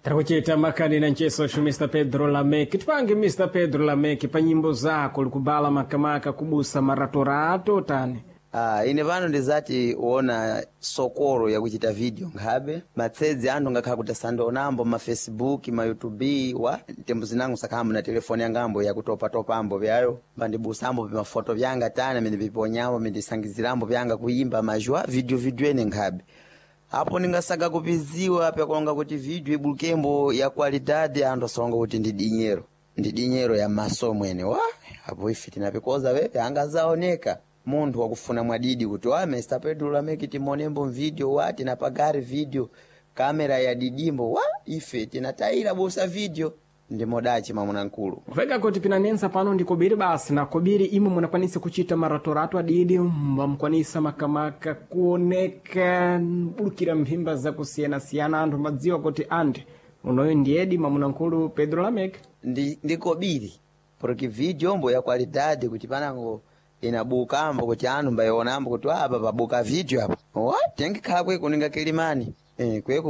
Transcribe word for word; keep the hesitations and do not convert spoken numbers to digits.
Tiri makani na ncheso Mister Pedro Lameki. Tipange, Mister Pedro Lameki, pa nyimbo zako likubala makamaka kubusa maratorato tani? Ah, ine pano ndizati uona sokolo yakuchita video nkhabe matsedzi anthu ngakhala kuti asandionambo ma Facebook, ma YouTube wa tembo zinango sakhambo na telefoni yangambo yakutopatopambo vyayo pandibusambo pimafoto vyanga tani amene piponyambo mindisangizirambo vyanga kuyimba majwa video video ene nkhabe apo ningasaka kupiziwa pyakulonga kuti video ibulukembo ya qualidade, anthu asalonga kuti ndi dinyero ndi dinyero ya maso mwene wa apo ife tinapikoza wewe angazaoneka munthu wakufuna mwadidi kuti wa Mister Pedro Lameki timonembo video wa tinapagari video kamera ya didimbo wa ife tinatayira busa video ndimodachi mamuna nkulu. Vega kuti pinanensa pano ndi kobiri basi na kobiri imwe munakwanisa kuchita maratorato adidi, mbamukwanisa makamaka kuoneka bulukira mphimba zakusiyanasiyana, anthu madziwa kuti andi unoyo ndiyedi mamunankulu Pedro Lameki. Ndi ndi kobiri porque video mbo ya qualidade kuti panango inabukambo kuti anthu mbayionambo kuti apa pabuka video apa wa tengikhala kweko ninga kilimani eh, kweko.